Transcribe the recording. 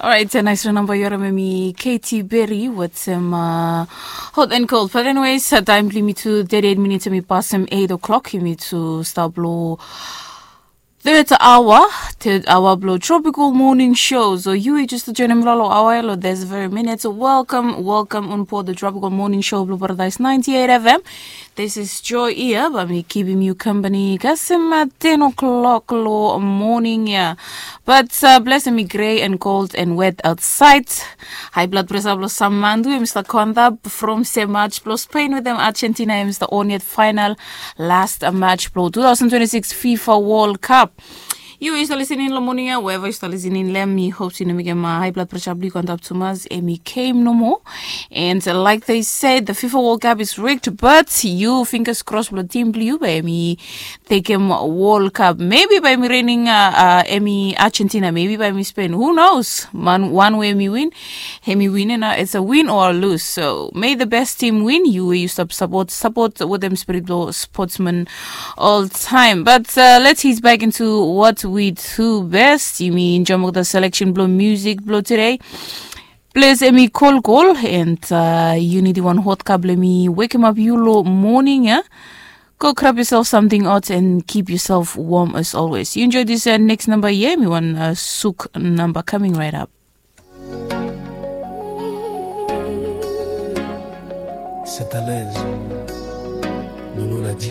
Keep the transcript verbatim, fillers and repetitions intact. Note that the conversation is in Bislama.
Orait, nais namba yu harim em i Katy Perry wetem uh, Hot and Cold. But anyways, uh, taem blong yumi tu thirty-eight minutes em i pasem eight o'clock, yumi tu stap lo third hour, third hour blo Tropical Morning Show. So yu i just joinim lo lo hour lo this very minute. So welcome, welcome on board the Tropical Morning Show blo Paradise ninety-eight F M. This is Joy ia, bae mi kipim yu company kasem uh, ten o'clock lo morning ia. But uh, bless em i grey and cold and wet outside. High blood pressure blo Samandu em i stap go antap from se match blo Spain wetem Argentina em i stap on yet final last uh, match blo two thousand twenty-six FIFA World Cup. Yu i stap lisening lo morning ia, wherever yu stap lisening lo em, mi hope se i no mekem uh, high blood pressure blo yu go antap tumas, em i kem nomo. And uh, like they said, the FIFA World Cup is rigged, but yu fingers crossed blo team blo yu bae em i tekem World Cup. Maybe bae em i reigning uh, uh, em i Argentina, maybe bae em i Spain. Who knows? Man, one way em i win, em i win, and uh, it's a win or a lose. So may the best team win. Yu we yu stap support, support wetem spirit blo sportsman all time. But uh, let's ease back into what we do best. Yumi enjoem olgeta selection blo music blo today. Ples em i kolkol, and uh, yu nidim wan hot cup blo em i wekemap yu lo morning ia. Go grab yourself something hot and keep yourself warm as always. You enjoy this uh, next number ia, em i wan uh, suk number coming right up. C'est à l'aise. Nous, nous l'a dit.